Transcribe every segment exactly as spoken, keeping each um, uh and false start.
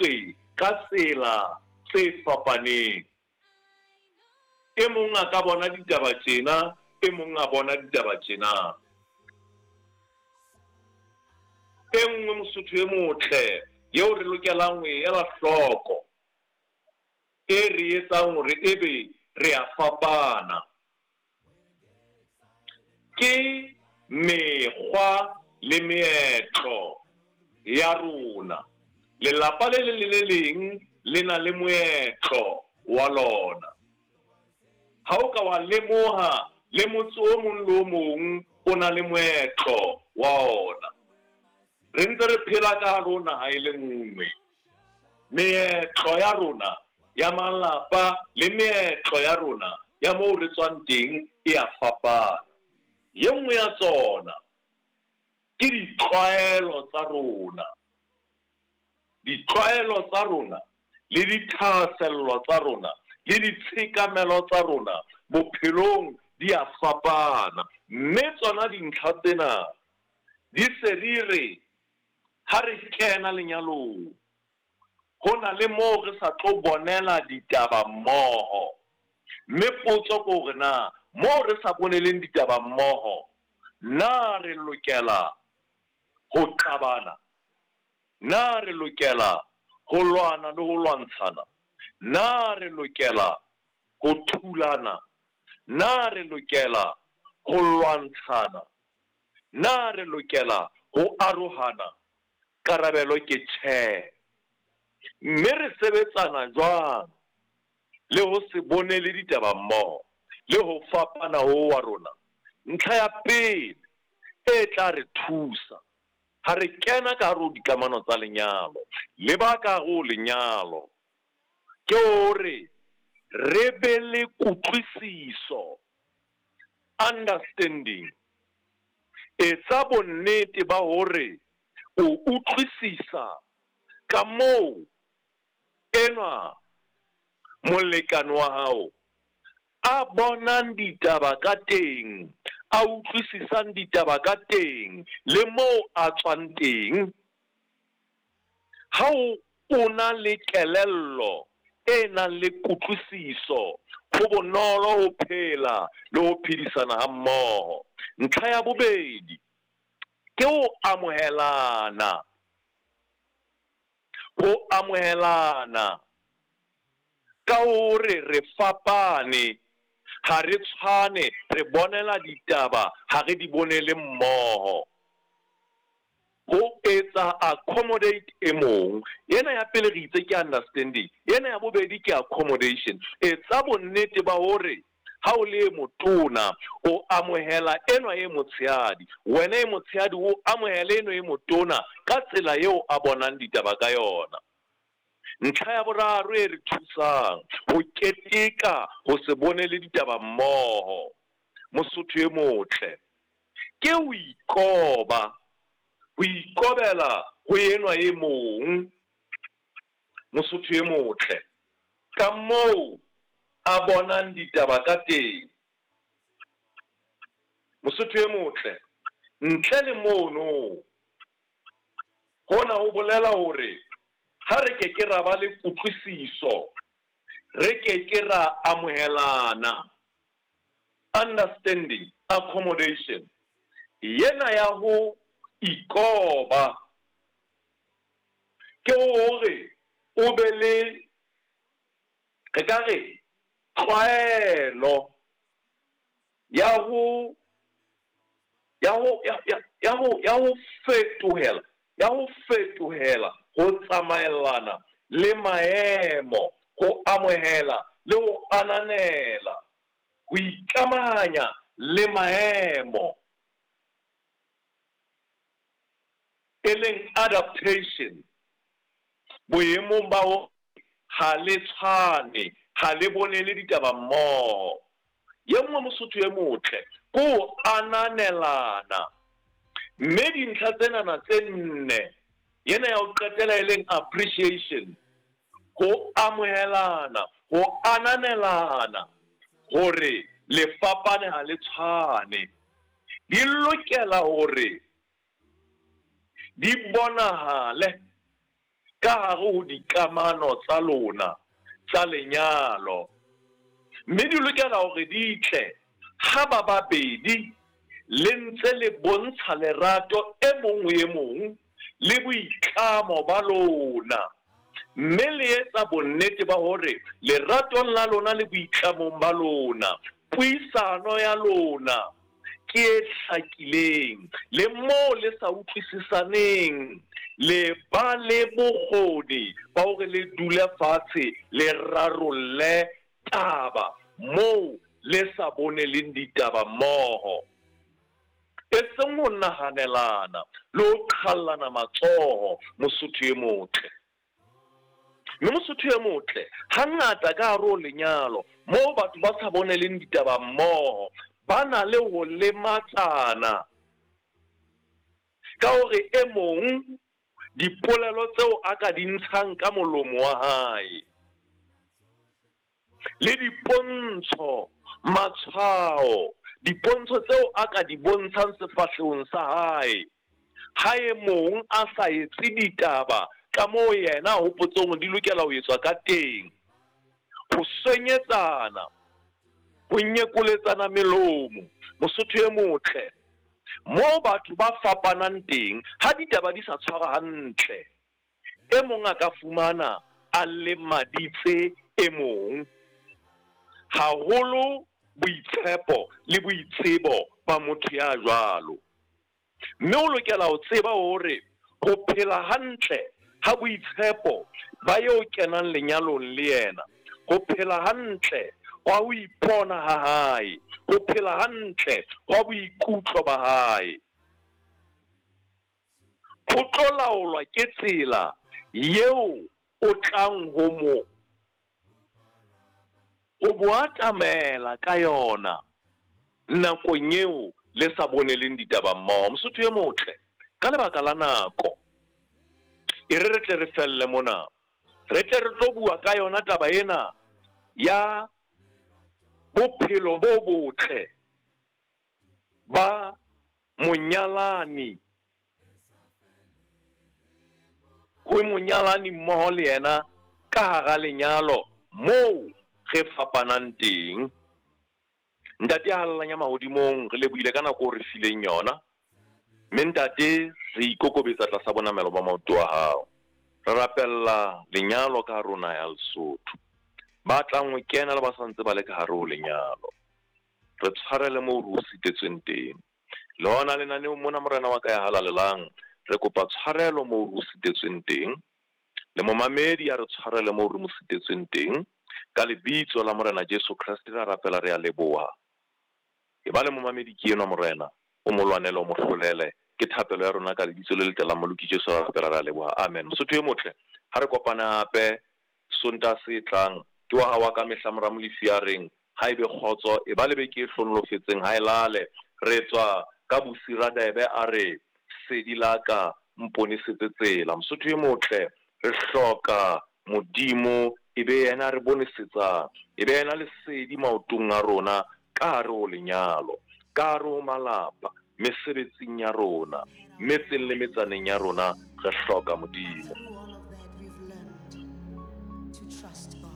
etswe ka tsela tse fapaneng. E mong a ka bona ditaba tjena, e mong a bona ditaba tjena. E nngwe Mosotho e motle eo re lokelang ho e ela hloko, e re etsang hore ebe re a fapana, ke mekgwa le meetlo ya rona. Lelapa le leng le le leng le na le moetlo wa lona. Ha o ka wa lemoha, le motse o mong le o mong o na le moetlo wa ona. Re ntse re phela ka hare ho naha e le nngwe. Meetlo ya rona ya malapa le meetlo ya rona ya moo re tswang teng e a fapana. E nngwe ya tsona ke ditlwaelo tsa rona. Ditlwaelo tsa rona le dithahasello tsa rona le ditshekamelo tsa rona bophelong di a fapana. Mme tsona dintlha tsena di se di re ha re kena lenyalong, ho na le moo re sa tlo bonela ditaba mmoho. Mme potso ke hore na moo re sa boneleng ditaba mmoho, na re lokela ho qabana? Na re lokela ho lwana le ho lwantshana? Na re lokela ho thulana? Na re lokela ho lwantshana? Na re lokela ho arohana? Karabelo ke tjhe. Mme re sebetsana jwang le ho se bone le ditaba mmoho le ho fapana ho wa rona? Ntlha ya pele e tla re thusa ha re kena ka hare ho dikamano tsa lenyalo le ba ka hare ho lenyalo ke hore re be le kutlwisiso, understanding. Etsa bonnete ba hore o utlwisisa ka moo enwa molekane wa hao a bonang ditaba ka teng, a utlwisisang ditaba ka teng, le moo a tswang teng. Ha o, o na le kelello e nang le kutlwisiso, ho bonolo ho phela le ho phedisana ha mmoho. Ntlha ya bobedi ke ho amohelana. Ho amohelana ka hore re fapane, ha re tshwane, re bonela ditaba, ha re di bonele mmoho. Ho etsa accommodate e mong. Ena ya pele re itse ke understanding, ena ya bobedi ke accommodation. Etsa bonnete ba hore ha o le motona o amohela enwa e motshehadi, wena e motshehadi o amohele enwa e motona ka tsela eo a bonang ditaba ka yona. Ntlha ya boraro e re thusang ho keteka ho se bone le ditaba mmoho, Mosotho e motle, ke ho ikoba, ho ikobela ho enwa e mong, Mosotho e motle, ka moo a bonang ditaba ka teng. Mosotho e motle, ntle le mono, hona ho bolela hore ha re ke ke ra ba le kutlwisiso, re ke ke ra amohelana, understanding, accommodation, yena ya ho ikoba ke hore o be le, re ka re, tlwaelo ya ho, ya ho, ya, ya, ya ho, ya ho fetohela, ya ho fetohela ho tsamaellana le maemo, ho amohela le ho ananela, ho ikamahanya le maemo, e leng adaptation, boemong ba ho ha le tshwane, ha le bonele ditaba mmoho. Ye nngwe Mosotho e motle ke ho ananelana. Mme dintlha tsenana tse nne, yena ya ho qetela e leng appreciation, ho amohelana, ho ananelana hore le fapane ha le tshwane, di lokela hore di bonahale ka hare ho dikamano tsa lona tsa lenyalo. Mme di lokela hore di tle ha ba babedi le ntse le bontsha lerato e mong ho e mong le boitlamo ba lona, mme le etsa bonnete ba hore leratong la lona le boitlamong ba lona, puisano ya lona ke e hlakileng, le moo le sa utlwisisaneng le ba le bokgoni ba hore le dule fatshe le rarolle taba moo le sa boneleng ditaba mmoho. E seng ho nahanelana le ho qhallana matsoho, Mosotho e motle. Mme Mosotho e motle, hangata ka hare ho lenyalo moo batho ba sa boneleng ditaba mmoho, ba na le ho lematsana ka hore e mong dipolelo tseo a ka di ntshang ka molomo wa hae le dipontsho, matshwao, dipontsho tseo a ka di bontshang sefahlehong sa hae, ha e mong a sa etse ditaba ka moo yena a hopotseng hore di lokela ho etswa ka teng, ho swenyetsana, ho nyekoletsana melomo, Mosotho e motle, moo batho ba fapanang teng, ha ditaba di sa tshwara hantle, e mong a ka fumana a lemaditse e mong, haholo boitshepo le boitsebo ba motho ya jwalo. Mme o lokela ho tseba hore ho phela hantle ha boitshepo ba eo kenang lenyalong le yena, ho phela hantle hwa ho ipona ha hae, ho phela hantle hwa boikutlo ba hae, ho tlo laolwa ke tsela yeo o tlang ho mo ho mo atamela ka yona nakong eo le sa boneleng ditaba mmoho. Mosotho e motle, ka lebaka la nako, e re re tle re felle mona, re tle re tlo bua ka yona taba ena ya bophelo bo botle ba monyalani ho monyalani mmoho le yena ka hara lenyalo moo re fapanang teng. Ntate ya halalelang ya mahodimong, re lebohile ka nako o re fileng yona. Mme ntate, re ikokobetsa tlasa bonamelo ba maoto a hao. Re rapella lenyalo ka rona ya Lesotho, ba tlang ho kena le ba sa ntse ba le ka hare ho lenyalo, re tshwarele moo re o sitetsweng teng. Le hona lenaneong mona, Morena wa ka ya halalelang, re kopa tshwarelo moo re o sitetsweng teng, le momamedi a re tshwarele moo re mo sitetsweng teng. Ka lebitso la Morena Jesu Kreste re rapela, re a leboha. E ba le momamedi ke enwa Morena, o mo lwanele, o mo hlolele. Ke thapelo ya rona ka lebitso le letle la Moloki Jesu re rapela, re a leboha. Amen. Mosotho e motle, ha re kopane hape Sontaha se tlang, ke wa hao wa ka mehla Mora Molefi a reng, ha ebe kgotso, e ba le beke e hlonolofetseng, ha e lale. Re tswa ka Bosira Debe a re, sedi la ka mponesetse tsela. Mosotho e motle, re hloka Modimo e be yena re bonesetsang, e be yena lesedi maotong a rona ka hare ho lenyalo, ka hare ho malapa, mesebetsing ya rona, metseng le metsaneng ya rona, re hloka Modimo. Through all of that, we've learned to trust God.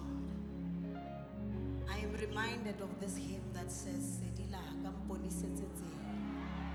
I am reminded of this hymn that says, Sedi la ka mponisetse tsela.